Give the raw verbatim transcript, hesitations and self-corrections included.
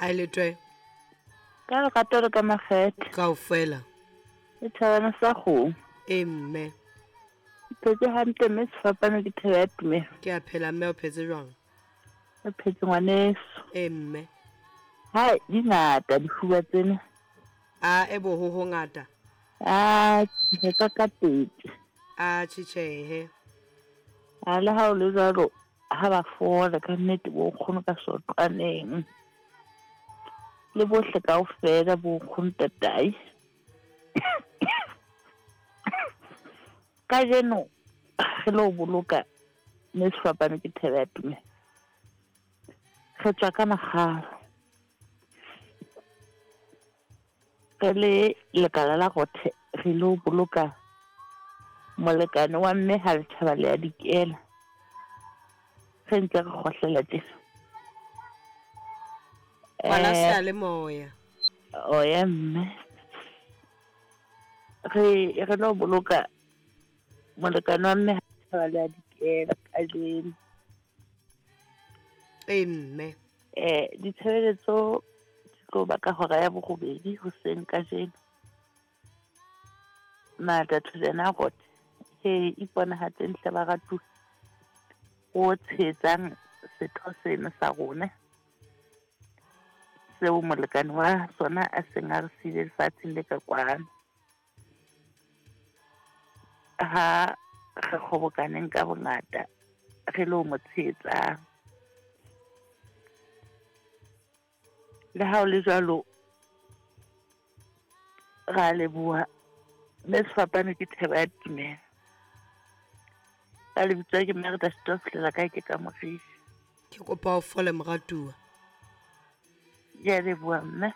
A le twe. Ka lerato le ka makgethe. Kaofela. Le thabana sa kgomo. E mme. Ke phetse hantle mme sefapano ke thebe ya tumelo. Ke a phela mme, o phetse jwang? Re phetse ngwaneso. E mme. Hai, di ngata difuba tsena. A e bo ho hongata. A ke ka ka pedi. A tjhe. A le ha o le jwalo ha ba fola ka nnete bo nkgono ka soqaneng. Le bohle kaofela bo nkgono tatai. Kajeno re lo boloka mme sefapano ke thebe ya tumelo. Re tswa ka makgalo. Re le lekala la Rothe re lo boloka molekane wa mme ha letjhaba le ya dikela. Re ntse re kgohlela tjena. Ngwana seyalemoya. O ya mme. Re re lo boloka molekane wa mme ha letjhaba le ya dikela kajeno. E mme. Eh ditshebeletso di tlo ba ka hora ya borobedi hoseng kajeno. Mata thojana Rothe he iponahatseng hle baratuwa o tshehetsang setho sena sa rona seo molekane wa sona a seng a re siile lefatsheng le ka kwano. Ha re kgobokaneng ka bongata re lo mo tshehetsang. Le ha o le jwalo ra leboha mme sefapano ke thebe ya tumelo. Ka lebitso ke Merda Stoflela ka ke ka Morisi. Ke kopa o fole moratuwa. Ke a leboha mme.